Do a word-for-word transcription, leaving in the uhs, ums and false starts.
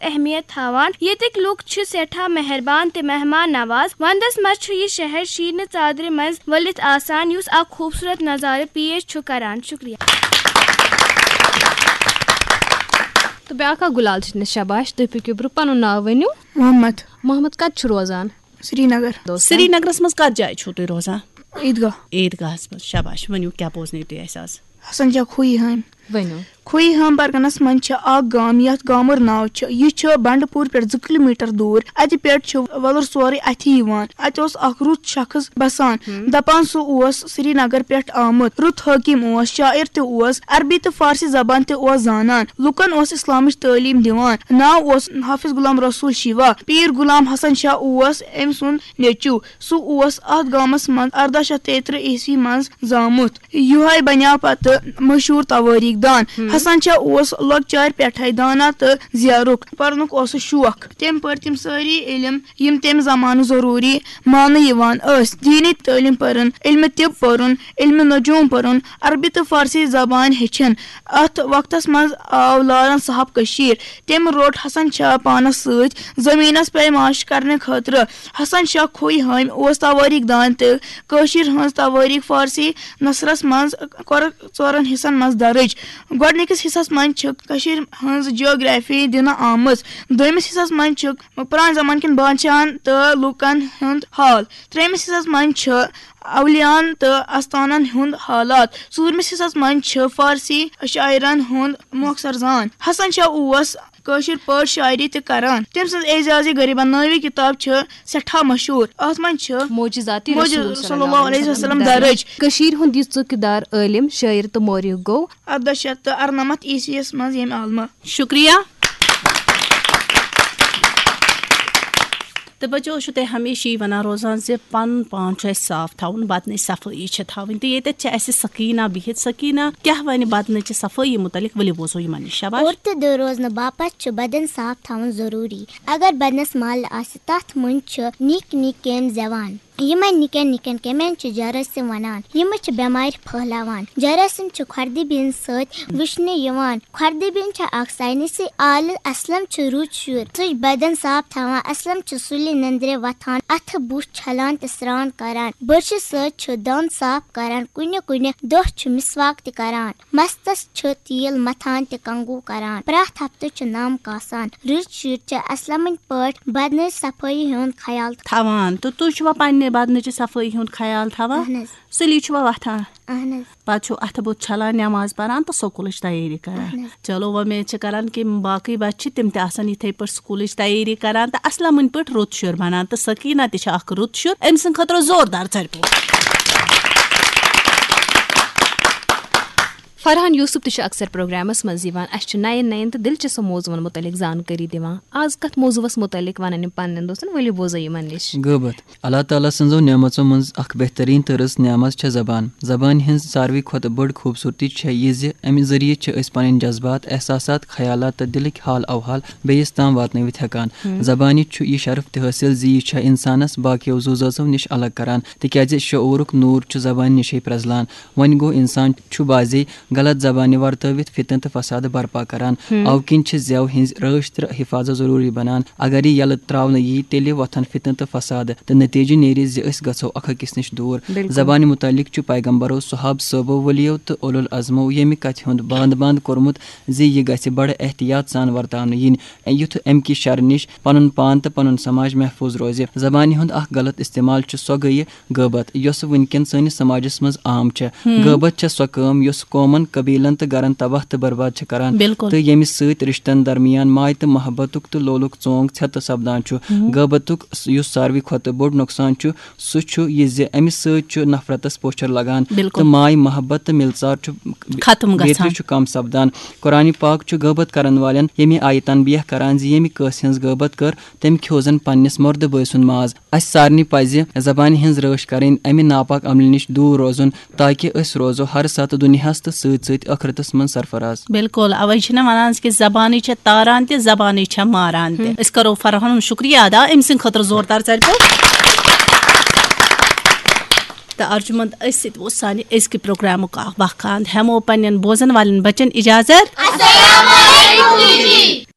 اہمیت تھاوان۔ ییٚتِکۍ لوٗکھ چھِ سٮ۪ٹھاہ مہربان تہٕ مہمان نواز۔ ونٛدس منٛز چھُ یہِ شہر شیٖنہٕ ژادرِ منٛز ؤلِتھ آسان، یُس اکھ خوٗبصوٗرت نظارٕ پیش چھُ کران۔ شُکریہ۔ تہٕ بیٛاکھ اکھ گُلال چھِ نِش۔ شاباش، تُہۍ پٔکِو برٛونٛہہ، پنُن ناو ؤنِو۔ محمد۔ محمد کتہِ چھُ روزان؟ سرینگر۔ دوستن۔ سرینگرس منٛز کتھ جایہِ چھِو تُہۍ روزان؟ عیٖدگاہ۔ عیٖدگاہس منٛز۔ شاباش، ؤنِو، کیٛاہ بوزنٲیِو تُہۍ اَسہِ آز؟ حسن شاہ کھویی ہامہِ۔ ؤنِو۔ کھویی ہام پرگنس منٛز چھِ اکھ گام، یتھ گامُر ناو چھُ۔ یہِ چھُ بنڈٕ پور پٮ۪ٹھ زٕ کلوٗمیٹر دوٗر۔ اتہِ پٮ۪ٹھ چھُ وۄلُر سورُے اتھی یِوان۔ اتہِ اوس اکھ رُت شخص بسان۔ ہم۔ دپان سُہ اوس سرینگر پٮ۪ٹھ آمُت۔ رُت حٲکِم اوس، شاعر تہِ اوس، عربی تہٕ فارسی زبان تہِ اوس زانان۔ لُکن اوس اسلامٕچ تعلیٖم دِوان۔ ناو اوس حافظ غلام رسول شیوا۔ پیٖر غلام حسن شاہ اوس أمۍ سُنٛد نیٚچوٗ۔ سُہ اوس اتھ گامس منٛز ارداہ شیٚتھ تیٚیہِ ترٕٛہ عیسوی منٛز زامُت۔ یِہوے بنیٛاو پتہٕ مشہوٗر توٲریٖخ دان۔ ہم۔ حسن شاہ اوس لۄکچارِ پٮ۪ٹھے دانا تہٕ زیرُک۔ پرنُک اوسُس شوق۔ تٔمۍ پٔرۍ تِم سٲری علم، یِم تَمہِ زمانہٕ ضروٗری ماننہٕ یِوان ٲسۍ۔ دیٖنی تعلیٖم پٔرٕن، علمِ طب پوٚرُن، علمِ نجوم پوٚرُن، عربی تہٕ فارسی زبان ہیٚچھِن۔ اتھ وقتس منٛز آو لارن صاحب کٔشیٖر۔ تٔمۍ روٚٹ حسن شاہ پانس سۭتۍ زٔمیٖنس پیماش کرنہٕ خٲطرٕ۔ حسن شاہ کھویی ہامہِ اوس توٲریٖخ دان تہٕ کٲشِر ہٕنٛز توٲریٖخ فارسی نثرس منٛز کٔرٕکھ ژورن حصن منٛز درٕج۔ گۄڈٕنِکِس حصس منٛز چھِ کٔشیٖرِ ہٕنٛز جیوگرافی دِنہٕ آمٕژ۔ دوٚیمِس حصس منٛز چھِ پرانہِ زمانہٕ کٮ۪ن بادشاہن تہٕ لوٗکن ہُنٛد حال۔ ترٛیٚیمِس حصس منٛز چھِ اولیاہن تہٕ استانن ہُنٛد حالات۔ ژوٗرمِس حصس منٛز چھِ فارسی شاعرن ہُنٛد مۄخصر زان۔ حسن شاہ اوس کٲشِر پٲٹھۍ شاعری تہِ کران۔ تٔمۍ سٕنٛز اعجازِ غریبن نٲوی کِتاب چھِ سٮ۪ٹھاہ مشہوٗر۔ اتھ منٛز چھِ معجزاتِ معجز-، رسول صلی اللہ علیہ وسلم درٕج۔ کٔشیٖرِ ہُنٛد یہِ ژُکہِ دار عٲلِم، شٲعر تہٕ مورخ گوٚو ارداہ شیٚتھ تہٕ ارنمتھ عیسویس منٛز ییٚمہِ عالمہٕ۔ شُکریہ۔ تہٕ بچو، چھُو تۄہہِ ہمیشہِ یی وَنان روزان زِ پَنُن پان چھُ اَسہِ صاف تھاوُن، بدنٕچ صفٲیی چھِ تھاوٕنۍ۔ تہٕ ییٚتٮ۪تھ چھِ اَسہِ سکیٖنہ بِہِتھ۔ سکیٖنہ کیٛاہ وَنہِ بدنٕچہِ صفٲیی مُتعلِق؟ ؤلِو بوزو یِمَن نِش۔ شاباش۔ اوٚر تہٕ دٔر روزنہٕ باپتھ چھُ بدن صاف تھاوُن ضروٗری۔ اگر بدنس مل آسہِ، تتھ منٛز چھِ نِکۍ نِکۍ کیٚمۍ زٮ۪وان۔ یِمن نِکٮ۪ن نِکٮ۪ن کیٚمٮ۪ن چھِ جراثیم ونان۔ یِم چھِ بٮ۪مارِ پھٔہلاوان۔ جراثیم چھِ خۄردٕبی ہٕنٛدِ سۭتۍ وٕچھنہٕ یِوان۔ خۄردٕبی چھِ اکھ ساینسی آلہٕ۔ اسلم چھُ رُت شُر۔ سُہ چھُ بدن صاف تھاوان۔ اسلم چھُ سُلہِ نندرِ وۄتھان، اتھٕ بُتھ چھلان تہٕ سرٛان کران۔ برشہِ سۭتۍ چھُ دند صاف کران۔ کُنہِ کُنہِ دۄہ چھُ مسواک تہِ کران۔ مستس چھُ تیٖل متھان تہٕ کنگو کران۔ پرٛٮ۪تھ ہفتہٕ چھُ نم کاسان۔ رٕتۍ شُرۍ چھِ اسلمٕنۍ پٲٹھۍ بدنٕچ صفٲیی ہُنٛد خیال تھاوان۔ تہٕ تُہۍ چھِوا پننہِ بدنٕچہِ صفٲیی ہُنٛد خیال تھاوان؟ اہن حظ۔ سُلی چھُوا وۄتھان؟ اہن حظ۔ پتہٕ چھُو اَتھٕ بُتھ چھلان، نٮ۪ماز پران تہٕ سکوٗلٕچ تیٲری کران۔ اہن حظ۔ چلو، وۄمید چھِ کران کہِ یِم باقٕے بچہِ چھِ، تِم تہِ آسن یِتھے پٲٹھۍ سکوٗلٕچ تیٲری کران تہٕ اسلمٕنۍ پٲٹھۍ رُت شُر بنان۔ تہٕ سکیٖنہ تہِ چھِ اکھ رُت شُر، أمۍ سٕنٛدِ خٲطرٕ زوردار ژَرِ پوٚپ۔ فرحان یوسف تہِ چھُ اکثر پروگرامس منٛز یِوان۔ اَسہِ چھُ نَین نَین تہٕ دِلچسپ موضوعن مُتعلق زانکٲری دِوان۔ آز کتھ موضوعس مُتعلق ونن یِم پننٮ۪ن دوستن؟ ؤلِو بوزو یِمن نِش۔ غٲبت۔ اللہ تعالیٰ سٕنٛزو نعمژو منٛز اکھ بہترین تہٕ رٕژ نعمت چھےٚ زبان۔ زبانہِ ہٕنٛز ساروٕے کھۄتہٕ بٔڑ خوٗبصوٗرتی چھےٚ یہِ زِ امہِ ذٔریعہٕ چھِ أسۍ پنٕنۍ جذبات، احساسات، خیالات تہٕ دِلٕکۍ حال احوال بیٚیِس تام واتنٲوِتھ ہٮ۪کان۔ ہم۔ زبانہِ چھُ یہِ شرف تہِ حٲصِل زِ یہِ چھےٚ انسانس باقیو زُو زٲژو نِش الگ کران، تِکیازِ شعوٗرُک نوٗر چھُ زبانہِ نِشے پرٛزلان۔ وۄنۍ گوٚو، انسان چھُ بعضے غلط زبانہِ ورتٲوِتھ فتنہٕ تہٕ فساد برپا کران۔ ہم۔ اَوٕ کِنۍ چھِ زٮ۪و ہٕنٛز رٲچھ تہٕ حفاظت ضروٗری بنان۔ اگر یہِ یلہٕ ترٛاونہٕ یی، تیٚلہِ وۄتھن فتنہٕ تہٕ فساد، تہٕ نتیجہٕ نیرِ زِ أسۍ گژھو اکھ أکِس نِش دوٗر۔ بِلکُل۔ زبانہِ مُتعلق چھُ پیغمبرو، صحابہٕ صٲبو، ؤلیو تہٕ اولو العزمو ییٚمہِ کتھِ ہُنٛد باند باند کوٚرمُت زِ یہِ گژھِ بڑٕ احتیاط سان ورتاونہٕ یِنۍ۔ یُتھ امہِ کہِ شرٕ نِش پنُن پان تہٕ پنُن سماج محفوظ روزِ۔ زبانہِ ہُنٛد اکھ غلط استعمال چھُ سۄ گٔیہِ غٲبت، یۄسہٕ وٕنکٮ۪ن سٲنِس سماجس منٛز عام چھےٚ۔ ہم۔ غٲبت چھےٚ سۄ کٲم یۄس قومن، قبیلن تہٕ گرن تباہ تہٕ برباد چھےٚ کران۔ بِلکُل۔ تہٕ ییٚمہِ سۭتۍ رشتن درمیان ماے تہٕ محبتُک تہٕ لولُک ژونگ ژھٮ۪تہٕ سپدان چھُ۔ ہم۔ غٲبتُک س-، یُس ساروٕے کھۄتہٕ بوٚڑ نۄقصان چھُ، سُہ چھُ یہِ زِ امہِ سۭتۍ چھُ نفرتس پوچھر لگان۔ بِلکُل۔ تہٕ ماے محبت تہٕ مِلژار چھُ ختم گژھان۔ بیترِ چھُ کم سپدان۔ قرآن پاک چھُ غٲبت کرن والٮ۪ن ییٚمہِ آیہِ تنبیہ کران زِ ییٚمہِ کٲنٛسہِ ہٕنٛز غٲبت کٔر، تٔمۍ کھیوٚو زن پننِس مردٕ بٲے سُنٛد ماز۔ اسہِ سارنٕے پزِ زبانہِ ہٕنٛز رٲچھ کرٕنۍ، امہِ ناپاک عملہِ نِش دوٗر روزُن، تاکہ أسۍ روزو ہر ساتہٕ دُنیاہس تہٕ سۭتۍ سۭتۍ ٲخرتس منٛز سرفراز۔ بِلکُل، اوے چھِنہ ونان زِ کہِ زبانٕے چھےٚ تاران تہِ، زبانٕے چھےٚ ماران تہِ۔ ہم۔ أسۍ کرو فرحانُن شُکریہ ادا، أمۍ سٕنٛدِ خٲطرٕ زوردار ژَرِ پوٚپ۔ تہٕ ارجُمنٛد، أتھۍ سۭتۍ ووت سانہِ أزکہِ پروگرامُک اکھ وقت اند۔ ہٮ۪مو پننٮ۪ن بوزن والٮ۪ن بچن اجازت۔ السلام علیکم۔